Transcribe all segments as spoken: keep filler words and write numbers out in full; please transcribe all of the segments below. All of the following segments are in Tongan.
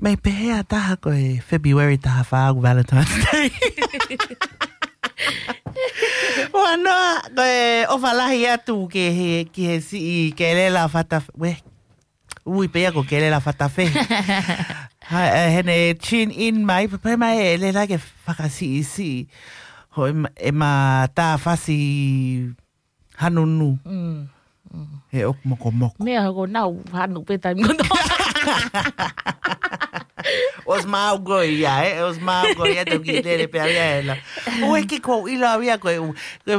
ʻE pehē ʻa taha ko e February taha fā ʻoku Valentine's Day. Ua noa, ko e ʻofa lahi atu ki he, ki he siʻi Kelela Fatafe, we, ui pē ia ko Kelela Fatafe. Ha, ʻe, heʻene tune in mai, pē mai ʻe Lela ke fakasiʻisiʻi. Ho e ma, e ma tā fasi hanunu. Mm. Mm. He ʻoku mokomoko. Meʻa ko nau hanu pē taimi ko nau. ʻOsi mau ko ia, ē? ʻOsi mau ko ia, tau ki lele pē au ia ela. ʻOku ʻikai ke ʻilo au ia ko e, ko e,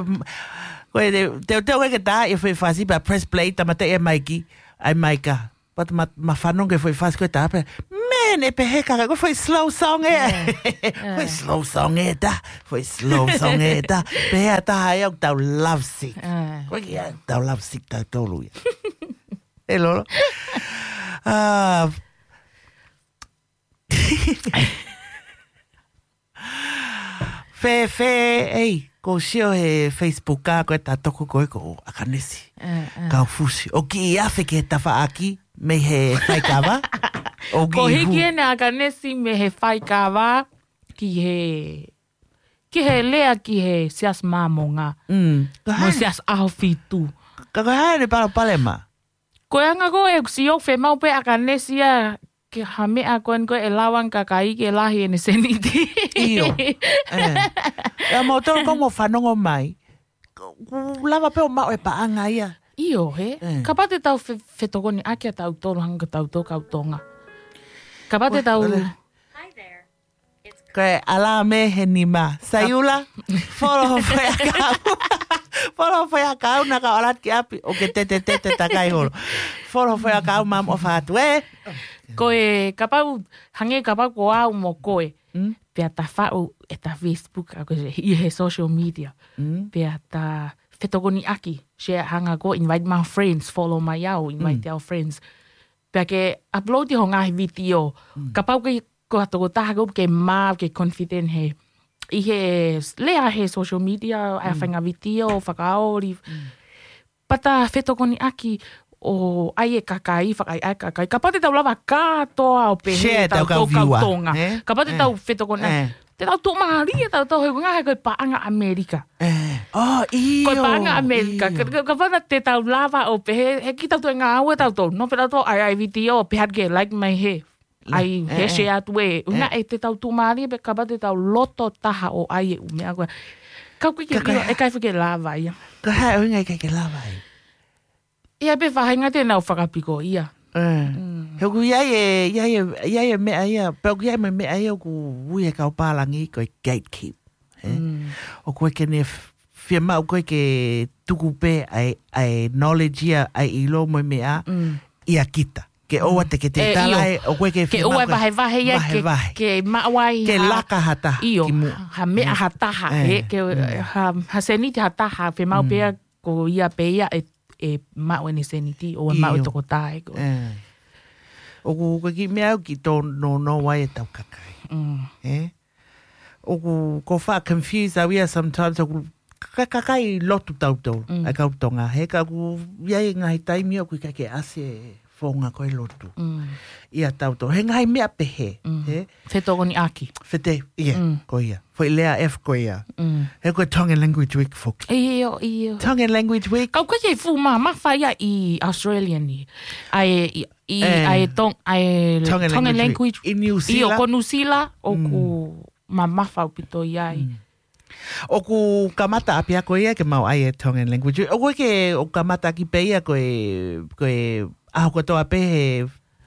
ko e, te, te, te, ko e ke tā, e fai fasi pea press play, tamata e maiki, ai maika. But ma, ma fanongo ke fai fasi ko e tā pē. Man, ʻe pehē ka, ko e fai slow song ē. Ē, ē. Fai slow song ē tā. Fai slow song ē tā. Pehē ʻa taha ia ʻoku tau love sick. Ē. Ko e kia, tau love sick tautolu ia. ʻE lolo. Ah, Fefe, ei, ko sio he Facebook ka ko e tā toko ko e ko ʻAkanesi. Ē, ē. Kaufusi. ʻOku kiʻi afe ki he tafaʻaki, mei he faikava. ʻOku kiʻi hiki hu. Ena ʻAkanesi mei he faikava, ki he, ki he lea ki he Siasi Māmonga. Mm. Ko e hā ʻene, mo e Siasi ʻAhofitu. Ka ko e hā ʻene palopalema? Ko e anga ko e ʻoku sio femau pē ʻAkanesi ia ke ha meʻa ko eni ko e lava ange kakai ke lahi ʻene seniti. ʻIo. Ē. ʻE, mou tolu ko mo fanongo mai. Ku, ku lava pē ʻo maʻu e paʻanga ia. ʻIo, he? Ē. Kapau te tau fe, fetokoniʻaki ʻa tautolu hangē ko tautolu kau Tonga. Kapau te tau. Ua, ua. Ko e ʻalā mei he nima. Saiula, folo ho foʻi ʻakau. Folo ho foʻi ʻakau na ka ʻalu atu ki ʻapi. ʻOku ke tete tete takai holo. Folo ho foʻi ʻakau maʻamoʻofa atu, ē? Ko e kapau, hangē kapau ko au mo koe. Mm. Pea ta faʻu ʻeta Facebook, ʻa ko e ʻi he social media. Mm. Pea ta fetokoniʻaki, share hangē ko e invite my friends, follow mai au, invite, mm, our friends. Pea ke upload ho ngaahi vitiō. Mm. Kapau ke ko ha tokotaha ko ke mā, ke confident he. ʻI he lea he social media, ʻa e, mm, faʻahinga vitiō, fakaoli. Mm. Pea ta fetokoniʻaki ʻo ʻai e kakai, fakaʻaiʻai e kakai. Kapau te tau lava kātoa ʻo pehē, share ʻetau kau, kau viewer, Tonga. Ē? Kapau te, ē, tau fetokoniʻaki. Ē. Te tau tuʻumālie ʻe tautolu he ngaahi ko e paʻanga ʻAmelika. Ē. Oh, ʻio, ko e paʻanga ʻAmelika. ʻIo. Ka, ka, kapau te tau lava ʻo pehē, he ki tautolu e ngāue tautolu. No, pea tautolu ʻai, ʻai vitiō, pehē atu ke like mai he. ʻAi, ē, he, ē, share atu ē. Ē. Una ē te tau tuʻumālie pē kapau te tau loto taha ʻo ʻai e ʻū meʻa ko ē. Ka ʻoku ʻikai ke, ka, ka ʻilo, ʻe ʻikai fai ke lava ia. Ka hā e ʻuhinga ʻikai ke lava ai? ʻI ai pē faʻahinga te nau fakapiko ia. Ē. Mm. He ʻoku ʻi ai e, ʻi ai e, ʻi ai e meʻa ia, pea ʻoku ʻi ai mo e meʻa ia ʻoku ui he kau pālangi ko e gatekeep. Ē? Mm. ʻOku ʻikai ke ne f-, fiemaʻu ko ē ke tuku pē ʻa e, ʻa e knowledge ia, ʻa e ʻilo mo e meʻa, mm, ʻia kita. Ke ʻoua, mm, te ke te, ē, tala ʻio, ē, ʻoku ʻikai ke, ke ʻoua fiemaʻu e vahevahe ia, ke, vahevahe, ke maʻu ai ke ha, laka ha taha, ʻio, ki muʻa. Ha meʻa, mm, ha taha, ē, mm, ke, mm, ha, ha seniti ha taha, fiemaʻu, mm, pē ia ko ia pē ia ʻe, ʻe maʻu ʻene seniti, ʻoua ʻe maʻu e, ʻio, tokotaha ē ko ē. Ē. ʻOku, ko e kiʻi meʻa ʻoku kiʻi tōnounou ai ʻetau kakai. Mm. Ē? ʻOku, ʻoku ou faʻa confuse au ia sometimes ʻoku ka, kakai lotu tautolu, mm, ʻa e kau Tonga, he ka ʻoku ʻi ai e ngaahi taimi ʻoku ʻikai ke ʻasi e founga ko e lotu. Mm. ʻIa tautolu. He ngaahi meʻa pehē, mm, he? Fetokoniʻaki. Fete, ʻio, mm, ko ia. Foʻi lea F ko ia. Mm. He ko e Tongan Language Week foki. ʻIo, ʻio. Tongan Language Week. Ka ʻoku ʻikai ke fuʻu mamafa ia ʻi Australia ni. ʻA e, ʻi, ʻi, ē, ʻa e Tong-, ʻa e Tongan, Tongan Language Week. Language. ʻI New Zealand. ʻIo, ko New Zealand, mm, ʻoku mamafa ʻaupito ia ai. Mm. ʻOku kamata ʻapiako ia ke maʻu ai e Tongan Language. ʻOku ʻikai ke, ʻoku kamata ʻaki pē ia ko e, ko e ʻaho kotoa pē he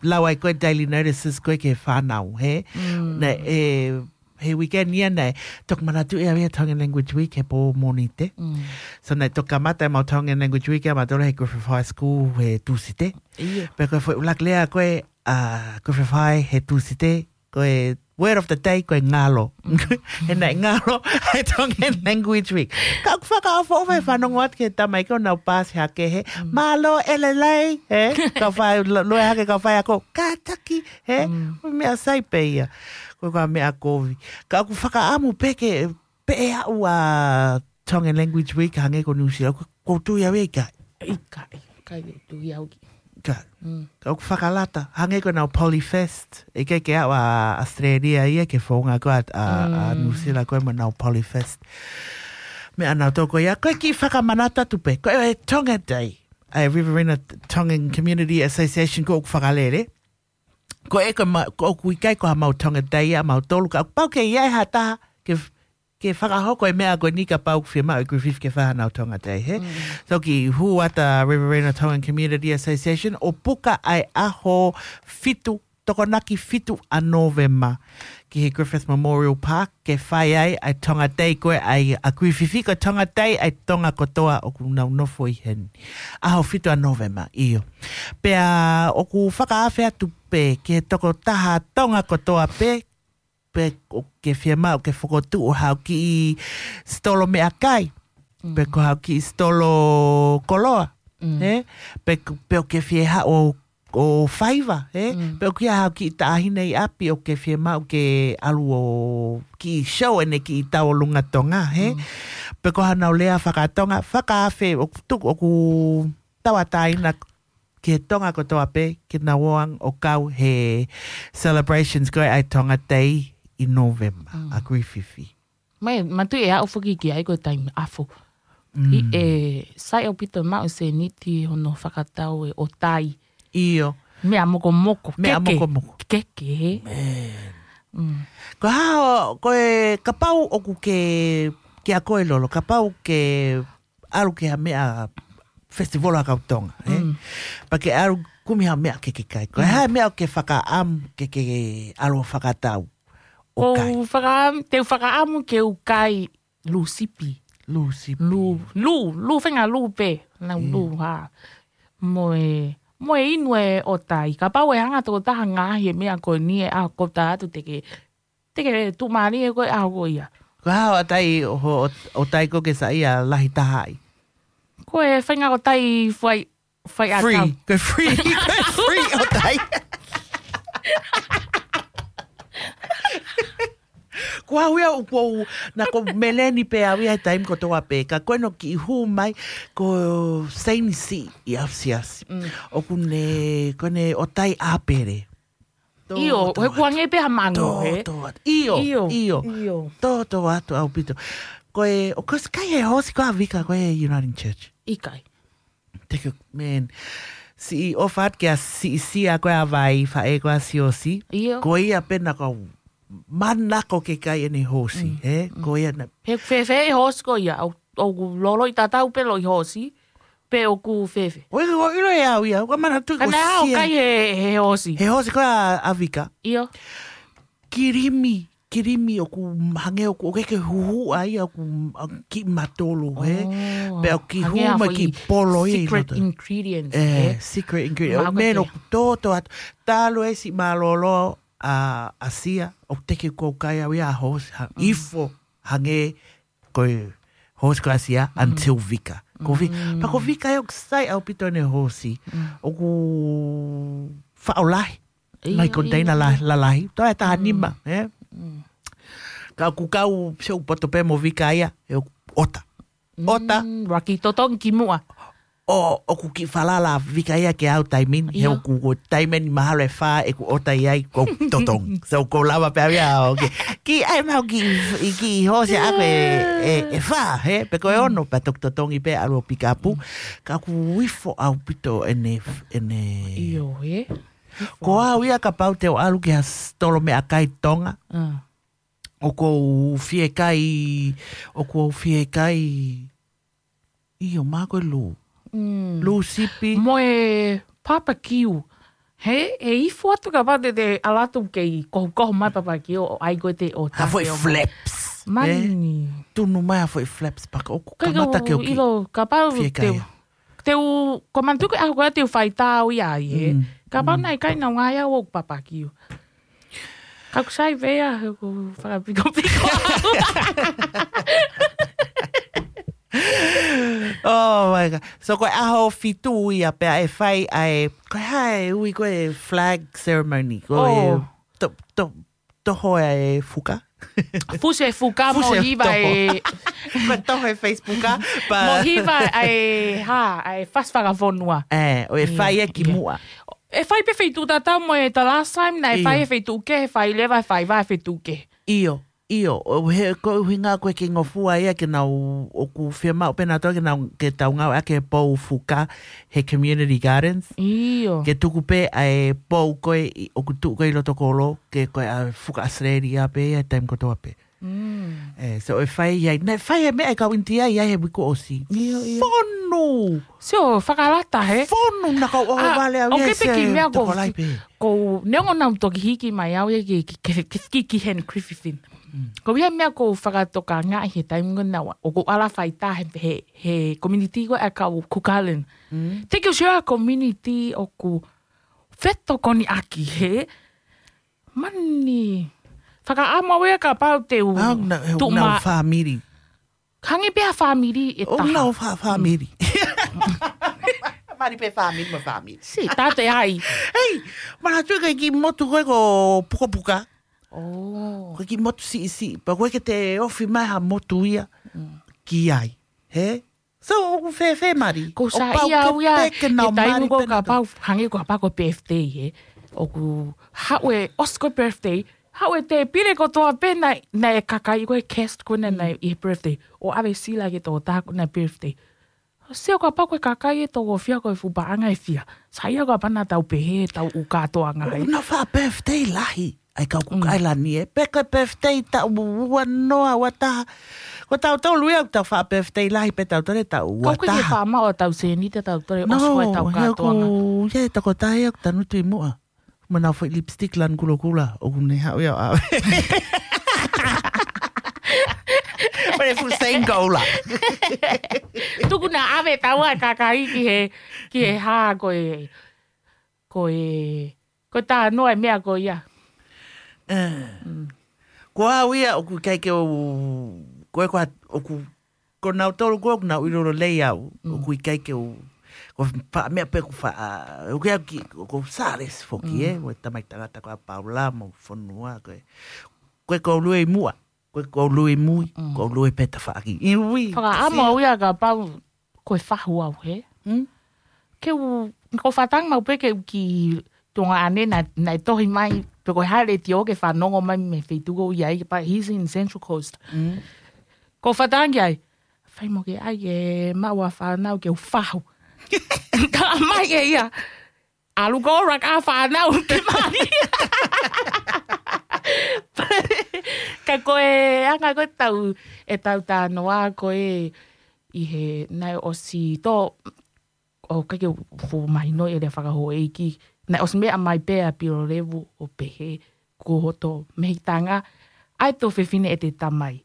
lau ai ko e daily notices ko ē ki he fānau, he? Mm. Naʻe, he weekend ia naʻe toki manatuʻi au ia Tongan Language Week he pō Mōnite. Mm. So naʻe toki kamata ʻemau Tongan Language Week ʻia mautolu he Griffith High School he Tūsite. ʻIo. Pea ko e foʻi ʻuluaki lea ko ē ʻa Griffith High he Tūsite, ko e word of the day, ko e ngalo. Mm. He naʻe ngalo ʻa e Tongan Language Week. Ka ʻoku fakaʻofoʻofa e fanongo atu ki he tamaiki ʻoku nau paasi hake he, mm, mālō e lelei, he? Kau fai, lo-, lue hake kau faiako, kātaki, he? Mm. Ko e meʻa sai pē ia. Ko e kau meʻa kovi. Ka ʻoku fakaʻamu pē ke, pē ʻe aʻu ʻa Tongan Language Week hangē ko New Zealand, ʻoku ou tui au ia ʻikai. ʻIkai, ʻikai ke tui au ki. Ka, ka ʻoku fakalata, hangē ko ʻenau Polyfest, ʻikai ke ʻalu ʻa Australia ia ki he founga ko ē ʻa, ʻa, ʻa New Zealand ko ē mo ʻenau Polyfest. Meʻa nautolu ko ia, ko e kiʻi fakamanatu atu pē, ko e Tonga Day, ʻa e Riverina Tongan Community Association ko ē ʻoku fakalele. Ko e ko ma, ko ʻoku ʻikai ko ha mau Tonga Day ʻa mautolu ka ʻoku pau ke ʻi ai ha taha, ke ke fakahoko e meʻa ko eni kapau ʻoku fiemaʻu ʻe Griffith ke fai haʻanau Tonga Day, he? So kiʻi hū atu ʻa Riverina Tongan Community Association ʻo puka ʻa e ʻaho fitu, Tokonaki fitu ʻa Nōvema ki he Griffith Memorial Park ke fai ai ʻa e Tonga Day ko ē ʻa Griffith, ko e Tonga Day ʻa e Tonga kotoa ʻoku nau nofo ʻi heni. ʻAho fitu ʻa Nōvema, ʻio. Pea ʻoku fakaafe atu pē ki he tokotaha Tonga kotoa pē, pe ʻoku ke fiemaʻu ke fokotuʻu haʻo kiʻi sitolo meʻakai, pe ko haʻo kiʻi sitolo koloa, he? Pe, pe ʻoku ke fie haʻu ʻo faiva, he? Pe ʻoku ʻi ai haʻo kiʻi taʻahine ʻi ʻapi ʻoku ke fiemaʻu ke ʻalu ʻo kiʻi show ʻene kiʻi tauʻolunga Tonga, he? Pe ko haʻanau lea faka-Tonga, fakaafe ʻoku tuku ʻoku tauʻatāina ki he Tonga kotoa pē, ke nau ō ange ʻo kau he celebrations ko ē ʻa e Tonga Day ʻi Nōvema, ʻa Griffith. Mai, matu e aʻu foki ki ai ko e taimi ʻafu. ʻI he sai ʻaupito maʻu seniti hono fakatau e ʻotai. ʻIo. Meʻa mokomoko, Meʻa keke. mokomoko. Keke, he? Ko e hā, ko e kapau ʻoku ke, kia koe Lolo, kapau ke ʻalu ki ha meʻa festival ʻa kau Tonga, he? Pea ke ʻalu kumi ha meʻa ke ke kai. Ko e hā e meʻa ʻoku ke fakaʻamu ke ke ʻalu ʻo fakatau ʻo kai? Ko u fakaʻamu, te u fakaʻamu ke u kai lū sipi. Lū sipi. Lū, lū, lū fenga lū pē. Nau lū ha. Mo e, mo e inu e ʻotai. Kapau ʻe hanga tokotaha ngaahi e meʻa ko eni e ʻaho ko ē atu te ke, te ke tuʻumālie ko e ʻaho ko ia. Ko e hā ʻotai ʻo, ʻo, ʻotai ko ē ke saiʻia lahi taha ai? Ko e fenga ʻotai fai, fai ʻakau. Free. Ko e free. Ko e free ʻotai. Ko au ia ʻoku ou, naʻa ku meleni pē au ia he taimi kotoa pē, ka ko ʻene kiʻi hū mai ko Seini Siʻi ʻi ʻAfisiasi. ʻOku ne, ko ʻene ʻotai ʻāpele. ʻIo, he kuange pē ha mango, he? Tōtō atu. ʻIo, ʻIo, ʻio. ʻIo. Tōtō atu ʻaupito. Ko e, ʻoku ke ʻosi kai he hoosi ko ē ʻa Vika ko ē Uniting Church? ʻIkai. Thank you, man. Siʻi ʻofa atu kia Siʻisia ko ē ʻa Vai, faʻē ko ē ʻa Siosi. ʻIo. Ko ia pē naʻa ku manako ke kai ʻene hoosi, he? Ko ia na. He fēfē e hoosi ko ia, ʻo, ʻoku loloʻi tatau pē loloʻi hoosi, pe ʻoku fēfē? ʻOku ʻilo ʻe au ia, ʻoku ou manatu atu ko Siʻisia. Ka naʻe ʻi ai haʻo kai he, he hoosi? He hoosi ko ē ʻa, ʻa Vika. ʻIo. Kilimi, kilimi ʻoku hangē ʻoku, ʻoku ʻikai ke huhuʻa ia ʻoku, ʻa, kiʻi matolu, he? ʻŌ, Pea ʻoku kiʻi hangē hū ha mai foʻi kiʻi polo ia ʻi secret loto. Ingredients, ʻE, he? Secret ingredient. Mahalo ʻOku meʻa ke. ʻOku tōtō atu. Talu e siʻi mālōlō ʻa, ʻa Sia, ʻoku teʻeki ke u kai au ia hoosi, ha, ifo, hangē ko e hoosi ko ē ʻa Sia, until Vika. Ko Vi-, pea ko Vika ia ʻoku sai ʻaupito ʻene hoosi. ʻOku faʻo lahi. ʻIo, Nai ko ʻio, teina la-, ʻio. lalahi. Toe taha nima, ē? Ka ʻoku kau se u poto pē mo Vika ia, he ʻoku ʻota. ʻOta. Mm, ʻoua kiʻi totongi ki muʻa. ʻO, ʻoku kiʻi falala Vika ia ke au taimi ni, he ʻIo. ʻoku ko taimi ni mahalo ʻe fā ʻeku ʻota ʻi ai ko totongi. So ko lava pē au ia, ʻo ke. Kiʻi ʻai mau kiʻi, kiʻi hoosi ʻaʻaku ʻe, ʻe, ʻe fā, he? Pe ko e ono, pea toki totongi pē ʻalu ʻo pikapu. Ka ʻoku ifo ʻaupito ʻene, ʻene ʻIo, ē? Ko au ia kapau te u ʻalu ki ha sitolo meʻakai Tonga. ʻOku ou fie kai, ʻoku ou fie kai, ʻio, mā ko e lū. Lū sipi. Mo e papakiu. He, ʻe ifo atu kapau te te ʻalu atu kei kohukohu mai papakiu, ʻo ʻai ko ē te ʻo Ha foʻi tafeo mai. flaps. Mani. Tunu mai ha foʻi flaps paka ʻoku Kai kamata ke u ki. ʻilo kapau Fie te kai u. Te u, ko manatu ko e ʻaho ko ē te u fai tāu ia ai, he. Kapau naʻe ʻikai naʻa ngai au ʻoku papakiu. Ka ʻoku sai pē ia, he ʻoku fakapikopiko. Oh my God. So ko e ʻaho fitu ia pea ʻe fai ai, ko e hā e ui ko e flag ceremony, ko e Oh. to, to, toho e fuka. Fusi e fuka mo hiva e. Ko e toho e Facebook, a? Mo hiva e, ha, e fasi fakafonua. E, ʻo e fai e ki muʻa. E fai pē feituʻu tatau mo e the last time, naʻe fai e feituʻu kehe, fai leva e fai vā e feituʻu kehe. ʻIo, ʻio, ʻo he ko e ʻuhinga ko e ke ngofua ia ke nau ʻoku fiemaʻu pē nautolu ke nau ke tau ngāueʻaki e pou fuka he community gardens. ʻIo. Ke tuku pē ʻa e pou ko ē ʻoku tuʻu ko ē ʻi loto kolo, ke ko e ʻa fuka Australia pē ia taimi kotoa pē. Mm. E, so e fai ia, naʻe fai e meʻa e kau ʻInitia ia he uike ʻosi. ʻIo, ʻio. Fonu! Sio, fakalata he. Fonu na kau o vale au ia se tokolahi pē. Ko neongo naʻa ku toki hiki mai au ia ki, ki, ki, ki, ki Henry Griffin. Ko ia meʻa ko u fakatokangaʻi he taimi ko ena ʻoku ala fai tā he, he, he community ko e kau Cook Island. Te ke sio a community ʻoku fetokoniʻaki he mani fakaʻamu au ia kapau te u tuʻu ma fāmili. Hangē pē ha fāmili e taha. ʻO nau fa-, fāmili. Mani pē fāmili mo fāmili. Si, tā te ai. Hei, mana tui ka ki motu ko e ko Pukapuka. Oh. Ko e ki motu siʻisiʻi. Pea ko e ke te ofi mai ha motu ia ki ai. He? So, ʻoku fēfē mali. Ko sa ia au ia, ke nau mali ko kapau, hangē ko kapau ko birthday, he. ʻOku haʻu e, ʻosi ko birthday, haʻu e te pile kotoa pē naʻe, naʻe kakai ko e guest ko ena naʻe ʻi he birthday. ʻO ʻave sila ke tō tā ko ena birthday. ʻO sio kapau ko e kakai e tō ko fia ko e fuʻu paʻanga e fia. Sa ia kapau naʻa tau pehē, tau ʻuka toa ngai. ʻO na fa birthday lahi. ʻAi kau Cook Island e. Pe ko e birthday taʻu ua noa, ua taha. Ko tautolu ia ʻoku tau fa birthday lahi pe tautolu taʻu ua taha. Kau ke ke fa ma o tau seni te tautolu ʻosi ko e tau kātoanga. Ia e tokotaha ia ʻoku tanu tui muʻa. Mana foʻi lipstick lanu kulokula. ʻOku ne haʻu ia ʻo ʻave. Mana fuʻu Saint Gola. Tuku na ʻave taua kakai ki he, ki he hā ko e, ko e, ko tā noa e meʻa ko ia. Ko au ia ʻoku ʻikai ke u, ko e ko ʻoku, ko nautolu ko ʻoku nau ʻilo lelei au, ʻoku ʻikai ke u, ko pa meʻa pē ʻoku fa, ʻoku ia ki, ko Sales foki e, ko e tamai tangata ko a Paula mo fonua, ko e, ko e ko lue i muʻa. Ko e ko lue i mui, ko lue pē tafaʻaki. ʻIo. Fakaʻamu au ia kapau ko e fahu au he. Ke u, ko fatangi mau pē ke u ki Tonga ane na, na e tohi mai, pe ko e hale ti o ke fanongo mai me feituʻu ko ia i pa he's in Central Coast. Ko fatangi ai, fai mo ke ai e maua fanau ke u fahu. Ka mai e ia. ʻAlu ko rak a fanau ke mali. Ka ko e anga ko e tau, e tau tā noa ko e ʻi he naʻe ʻosi tō, ʻo ka ke fuʻu mahino e le fakahōʻeiki. Naʻe ʻosi meʻa mai pē a Pilolevu ʻo pehē ko hoto mehitanga, ʻai tō fefine e te tamai.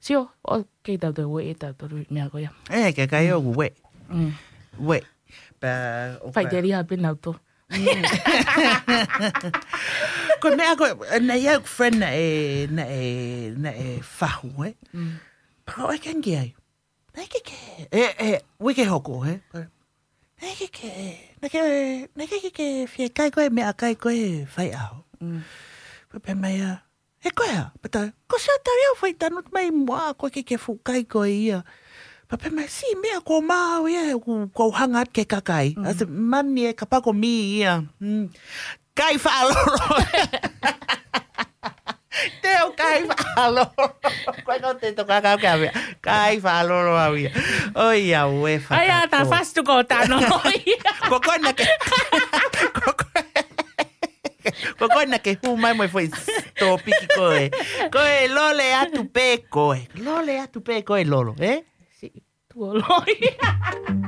Sio, ʻo kei tau te ue e tau toru meʻa ko ia. E, ke kai o ue. Ue. Pea, ʻo fai te lia pē nau tō. Ko e meʻa ko, na ia friend na e, na e, na e fahu, e. Pea ko e kengi ai. Na ke ke, e, e, uike hoko, e. Na ke ke, na ke, na ke ke, ke fie kai ko e meʻa kai ko e fai aho. Pea pē mai a, e ko ia, pata, ko sia tau ia fai tanu mai mua, ko ke ke fukai ko ia. Pea pē mai si meʻa ko mau ia, ko, ko hanga ke kakai. A se mani e kapa ko mi ia. Kai faʻalolo. Te u kai faʻalolo. Ko e no te toka kau ke avea. Kai faʻalolo au ia. ʻOi ia ue faka. Ai a ta fastu ko tano. Ko koe na ke. Ko koe. Ko koe na ke hū mai mo e foʻi tōpiki ko e. Ko e lole atu pē ko e. Lole atu pē ko e lolo, e? Si, tuoloi.